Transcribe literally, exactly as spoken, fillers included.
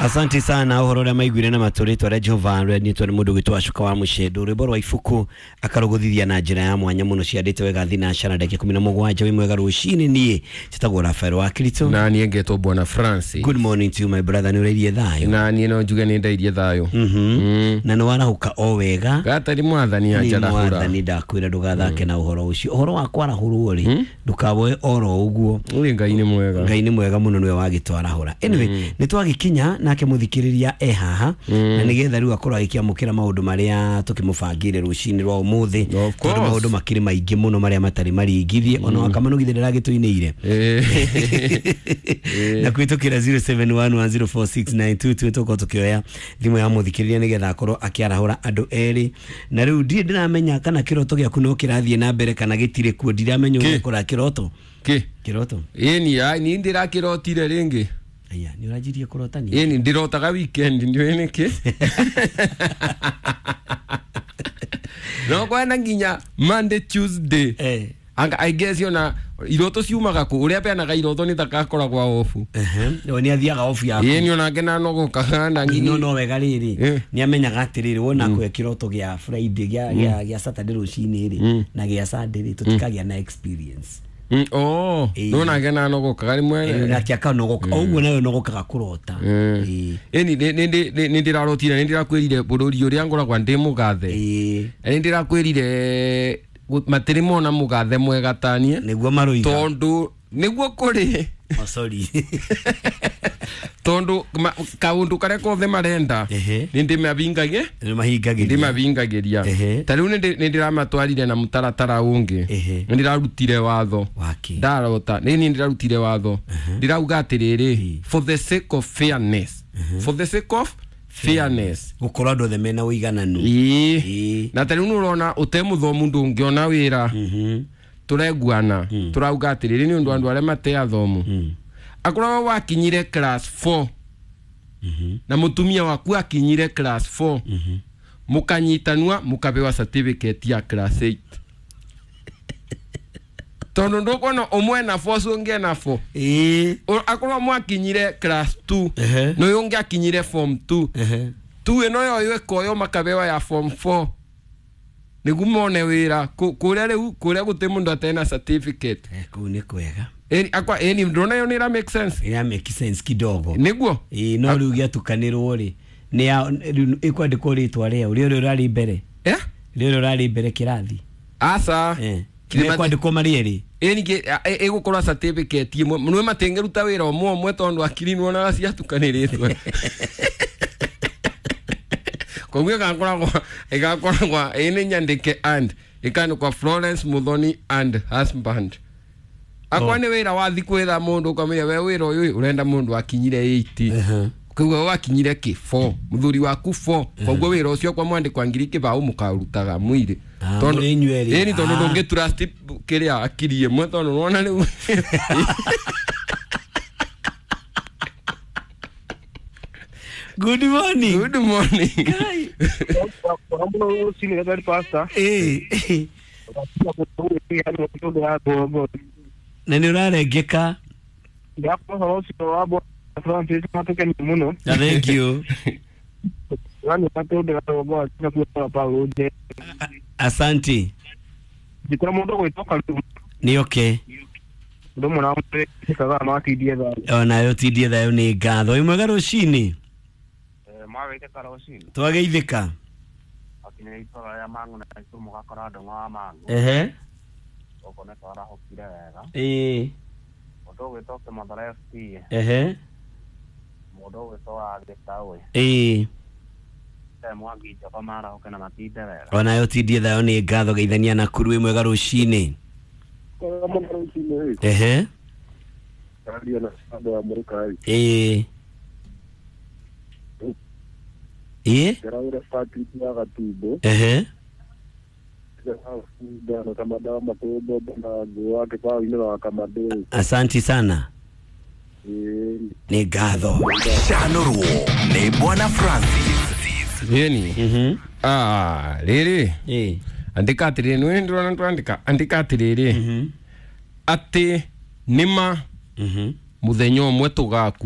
Asante sana uhoro uria maiguire na maturitwa ria Jehova rwenitwo ni mundu gwitwo Acuka wa Mucendo rwimbo rwa ibuku akaruguthithia na njira ya mwanya muno ciandite wega thina cana ndagika ikumi na mugwanja wi mwega rucini nie citagwo Rafael wa Kirito na nie ngetwo Bwana Francis. Good morning to you my brother, ni urairie thayo? Na nie no njuge ni ndairie thayo. Mhm. Na ni warahuka o wega gatari mwathani anjarahura mwathani ndakwira ndugathake na uhoro ucio uhoro wa kwarahurwo ri ndukawoe oro uguo. Uri Ngai ni mwega, Ngai ni mwega muno niwe wagitwarahura. Anyway, ni twagikinya nake muthikiriria e haha na nigetha riu akorwo agikiamukira maundu maria tukimubangire rucini rwa umuthi tondu maundu makiri maingi muno maria matari maringithie ona wakamanugithie ndiragituiniire na kwitukira zero seven one one zero four six nine two two tukorwo tukioya thimu ya muthikiriria nigetha akorwo akiarahura andu eri na riu ndie ndiramenya kana kiroto giaku no kirathie na mbere kana gitire kuo ndiramenya uria kura kiroto ki kiroto eni ai ni ndirakirotire ringi. Aya, ni urajirie kurotani? Eni ndirotaga weekend ndio niki. No kwana nginya Monday Tuesday. Eh. Anga I guess yona iroto ciumaga ku uria peanaga iroto ni takakoragwa ofu. Eh. No ni athiaga ofu yaku. Eni onake na nogokaga na nginya no no wega riri. Ni amenyaga atiriri wona kwe kiroto gia Friday gia gia gia Saturday rucini ri na gia Sunday ri tutikagia na experience. Mm, oh, no na gena no gokaga rimwe na kiaka no goka oguo nayo no gokaga kurota. Eni ni ni ni ndirarotire ni ndirakwirire bururi uria ngoragwa ndi mugathe. Ni ndirakwirire matiri mona mugathe mwega tanie niguo maroiga tondu niguo kuri. Oh sorry. Tondu kaundu karia kothe marenda ni ndimabingagie ni mahingagiria ndimavingagiria ta riu ni ndiramatwarire na mutaratara ungi ni ndirarutire watho ndarota ni ni ndirarutire watho ndirauga atiriri for the sake of fairness, for the sake of fairness gukorwo andu othe mena uigananu. Na ta riu nurona ute muthomu ndungiona wira tureguana turauga atiriri ni undu andu aria mate athomu akorwo wakinyire class four na mutumia waku akinyire class four mukanyitanua mukabewa certificate ya class eight tondu ndukona umwe na four ungi na four eh akorwo mwakinyire class two no yungi akinyire form two two ino yo ikoyo makabewa ya form four niguo mone wira kuria riu kuria guti mundu atena certificate. Eh kuu ni kwega. Eni akwa eni ndona yo ni ra make sense. Ira make sense kidogo. Niguo? Eh no riu giatukanirwo ri ni ya ikwandikwo ritwa ria uri uri urari mbere. Eh? Ri uri urari mbere kirathi. Asa. Eh. Kikwandikwo marieri. Eni ke igukorwo certificate imwe nwe matengeruta wira umwe umwe tondu akiri nuonaga ciatukaniritwe. Koguo igakoragwo igakoragwo eni nyandike and ikandikwa Florence Muthoni and husband. Akwa ni wira wathi kwetha mundu ukamwira we wira uyu urenda mundu akinyire eight koguo wakinyire ki four muthuri waku four koguo wira ucio kwa mwandikwa ngiri kibao mukarutaga mwiri tondu eni tondu ndungi trust kiria akiri imwe tondu nona riu Good morning. Good morning. Eh. Na ni urarengeka. Thank you. Asante. Ni okay. Ona yo tindie thayo ni ngatho. Wi mwega rucini? Twageithika. Ehe. Eh. Ehe. Eh. Ona yo tindie thayo ni ngatho geithania na kuru wi mwega rucini. Ehe. Eh. Eh? Ehe. Asante sana. Ni ngatho. Chanoruo ni Bwana Francis. Yeni. Mhm. Ah, riri. Eh. Andika atiriri ni ndirona twandika. Andika atiriri. Mhm. Ati nima Mhm. muthenya umwe tugaku